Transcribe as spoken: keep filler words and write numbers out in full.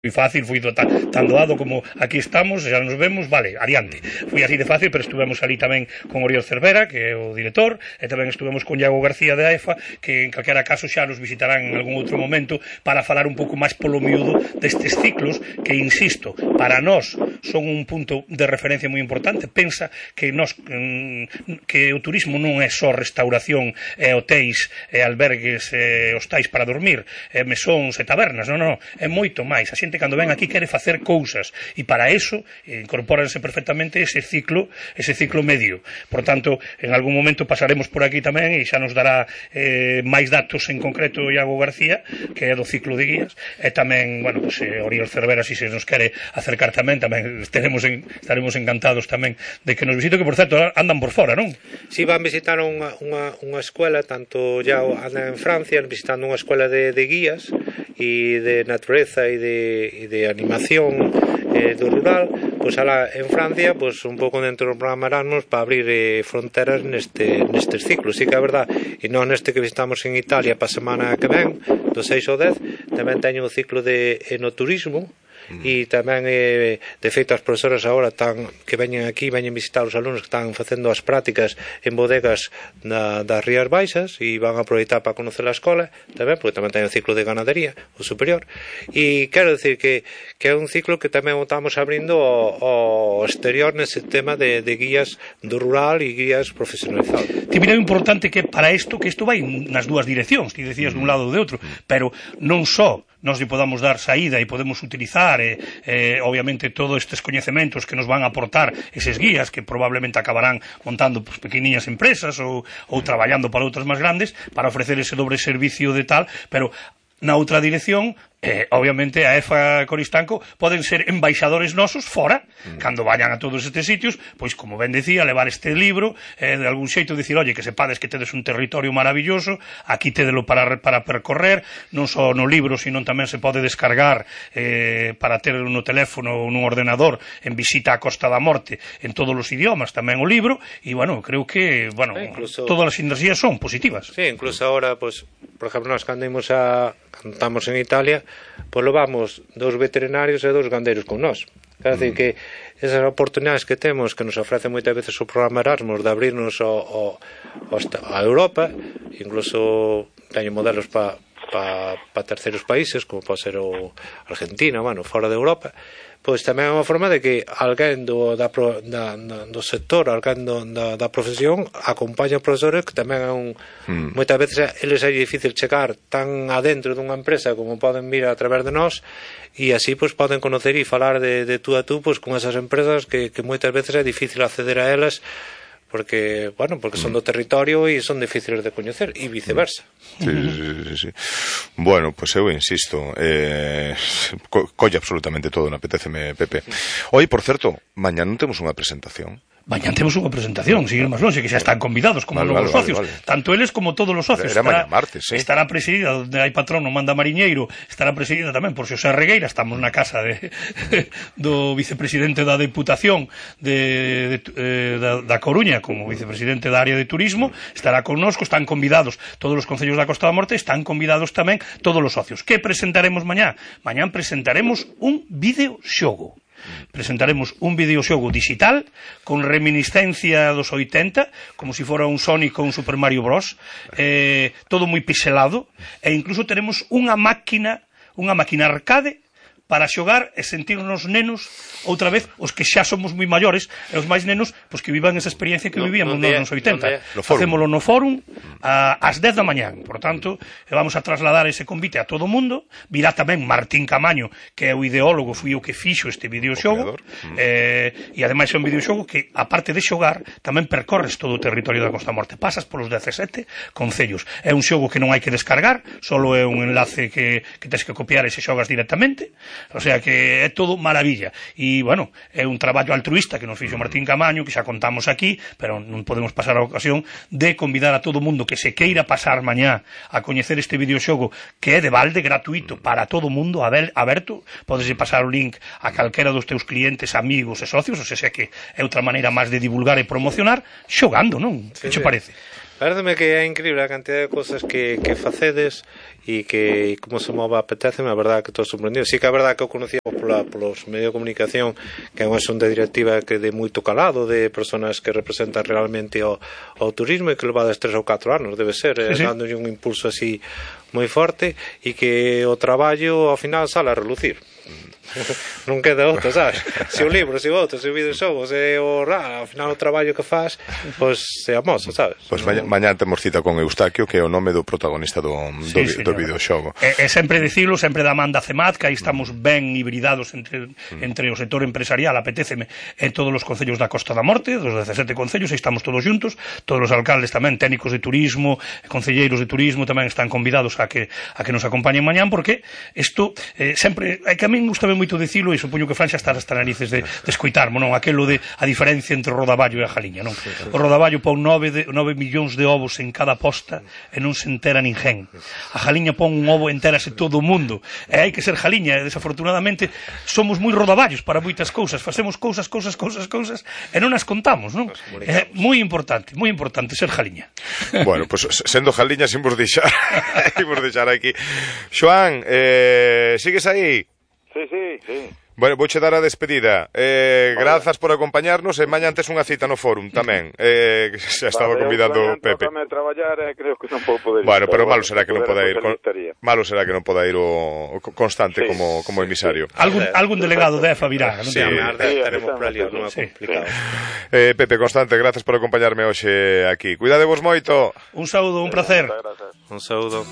Foi fácil, foi tan, tan doado como aquí estamos, xa nos vemos, vale, adiante. Foi así de fácil, pero estuvemos ali tamén con Oriol Cervera, que é o director, e tamén estuvemos con Iago García de A E F A, que en calquera caso xa nos visitarán en algún outro momento para falar un pouco máis polo miúdo destes ciclos que, insisto, para nós son un punto de referencia moi importante. Pensa que nós que o turismo non é só restauración e hotéis e albergues e hostais para dormir, e mesóns e tabernas, non, non, é moito máis. A xente cando ven aquí quere facer cousas e para eso incorpóranse perfectamente ese ciclo ese ciclo medio. Por tanto, en algún momento pasaremos por aquí tamén e xa nos dará eh, máis datos en concreto Iago García, que é do ciclo de guías, e tamén, bueno, pues, eh, Oriol Cervera, si se nos quere acercar tamén, tamén estaremos, en, estaremos encantados tamén de que nos visite, que por certo andan por fora, non? Si, van visitar unha, unha, unha escuela, tanto ya andan en Francia visitando unha escuela de, de guías e de natureza e de e de animación eh, do rural, pois alá en Francia, pois un pouco dentro do programa Erasmus para abrir eh, fronteras neste nestes ciclos. Si que é verdad, e non neste que visitamos en Italia para a semana que ven, do seis ao dez, tamén teño o ciclo de enoturismo. E tamén, eh, de feito, as profesoras agora están, que veñen aquí, veñen visitar os alumnos que están facendo as prácticas en bodegas na, das Rías Baixas e van a aproveitar para conocer a escola tamén, porque tamén ten o ciclo de ganadería, o superior, e quero decir que, que é un ciclo que tamén estamos abrindo ao, ao exterior nese tema de, de guías do rural e guías profesionalizados. Ti mira, é importante que para isto, que isto vai nas dúas direccións, ti decías dun lado ou de outro, pero non só nos lle podamos dar saída e podemos utilizar eh, eh, obviamente todos estes coñecementos que nos van a aportar eses guías que probablemente acabarán montando pues, pequeniñas empresas ou, ou traballando para outras máis grandes para ofrecer ese dobre servicio de tal, pero na outra dirección, eh, obviamente a E F A Coristanco poden ser embaixadores nosos fora, mm. cando vayan a todos estes sitios, pois como ben decía, levar este libro, eh, de algún xeito dicir, oye, que sepades que tedes un territorio maravilloso, aquí tedelo para, para percorrer, non só no libro, sino tamén se pode descargar eh, para ter no teléfono ou nun ordenador en visita á Costa da Morte en todos os idiomas, tamén o libro, e, bueno, creo que, bueno, eh, incluso, todas as sinerxías son positivas. Sí, incluso ahora, pues, por exemplo, nós cando imos a cando estamos en Italia, pois levamos dous veterinarios e dous gandeiros con nós. Quer dizer que esas oportunidades que temos, que nos ofrece moitas veces o programa Erasmus de abrirnos ao, ao, a Europa, incluso teño modelos para pa, pa terceiros países, como pode ser o Argentina, bueno, fora de Europa, pois tamén é unha forma de que alguén do, da, da, do sector, alguén do, da, da profesión acompaña os profesores, que tamén é un mm. moitas veces eles é difícil chegar tan adentro dunha empresa como poden vir a través de nós, e así pois poden conocer e falar de, de tú a tú pois con esas empresas que, que moitas veces é difícil acceder a elas porque, bueno, porque son do territorio e son difíciles de coñecer e viceversa. Sí, sí, sí, sí. Bueno, pois pues eu insisto, eh, co colle absolutamente todo, non apeteceme, Pepe. Hoy, por certo, mañá non temos unha presentación. Mañá temos unha presentación, seguir máis longe, que xa están convidados como vale, novos vale, socios, vale, vale. Tanto eles como todos os socios. Era mañá martes, sí. Estará presidida, onde hai patrón, non manda mariñeiro, estará presidida tamén por Xosé Regueira, estamos na casa de, do vicepresidente da Deputación de, de, de, da, da Coruña, como vicepresidente da área de turismo, estará connosco, están convidados todos os concellos da Costa da Morte, están convidados tamén todos os socios. Que presentaremos mañá? Mañá presentaremos un videoxogo. Presentaremos un videoxogo digital con reminiscencia dos oitenta, como se si fora un Sonic ou un Super Mario Bros, eh, todo moi pixelado, e incluso teremos unha máquina unha máquina arcade para xogar e sentirnos nenos outra vez, os que xa somos moi maiores e os máis nenos, pois que vivan esa experiencia que no, vivíamos no nos oitenta. No Facémolo no fórum a, ás dez da mañán. Por tanto, vamos a trasladar ese convite a todo o mundo. Virá tamén Martín Camaño, que é o ideólogo, foi o que fixo este videoxogo, mm. eh, e ademais é un videoxogo que, aparte de xogar, tamén percorres todo o territorio da Costa Morte. Pasas polos dezasete concellos. É un xogo que non hai que descargar, solo é un enlace que, que tens que copiar e se xogas directamente. O sea que é todo maravilla. E, bueno, é un traballo altruista que nos fixo Martín Camaño, que xa contamos aquí, pero non podemos pasar a ocasión de convidar a todo o mundo que se queira pasar mañá a coñecer este videoxogo, que é de balde, gratuito, para todo o mundo, aberto. Podes pasar o link a calquera dos teus clientes, amigos e socios, ou sea que é outra maneira máis de divulgar e promocionar, xogando, non? Que che parece? Pareceme que é increíble a cantidad de cosas que, que facedes e que como se move apetece, a verdade que estou sorprendido. Sí que a verdade que eu conocía pola, polos medios de comunicación, que é unha xunta directiva que de moito calado, de personas que representan realmente o, o turismo, e que levades tres ou catro anos, debe ser, sí, sí. dándolle un impulso así moi forte, e que o traballo ao final sale a relucir. Non queda outro, sabes? Se o libro, se o outro, se o videoxogo, se o ra, ao final o traballo que faz, pois se amosa, sabes? Pois mañá, mañá temos cita con Eustaquio, que é o nome do protagonista do, do, sí, do videoxogo. E, e sempre dicilo, sempre da man da CEMAT, que aí estamos ben hibridados entre, mm. entre o sector empresarial, apetéceme, en todos os concellos da Costa da Morte, dos dezasete concellos, aí estamos todos juntos, todos os alcaldes tamén, técnicos de turismo, concelleiros de turismo tamén están convidados a que a que nos acompañen mañán, porque isto eh, sempre, é que a min gustame moito dicilo, e supoño que Fran xa está hasta narices de, de escoitarmo, non? Aquelo de a diferencia entre o rodaballo e a jaliña, non? O rodaballo pon nove, de, nove millóns de ovos en cada posta e non se entera ninguén. A jaliña pon un ovo, entérase todo o mundo. E hai que ser jaliña, e desafortunadamente somos moi rodaballos para moitas cousas, facemos cousas, cousas, cousas, cousas e non as contamos, non? É moi importante, moi importante ser jaliña. Bueno, pois pues, sendo jaliña, imos deixar, imos deixar aquí. Xoán, eh, sigues aí? Sí, sí, sí. Bueno, vouche dar a despedida. Eh, grazas por acompañarnos, e mañá antes unha cita no fórum tamén. Eh, xa estaba vale, convidando Pepe. Vale, traballar, eh, creo que non vou poder ir. Bueno, pero, pero malo será que non poda ir. Con... Malo será que non poda ir o, o constante sí, como, como emisario. Sí. Algún, algún delegado de E F A virá, non sí, te sí, estaremos por ali, non é complicado. Eh, Pepe, Constante, grazas por acompañarme hoxe aquí. Cuidadevos moito. Un saúdo, un placer. Un saúdo.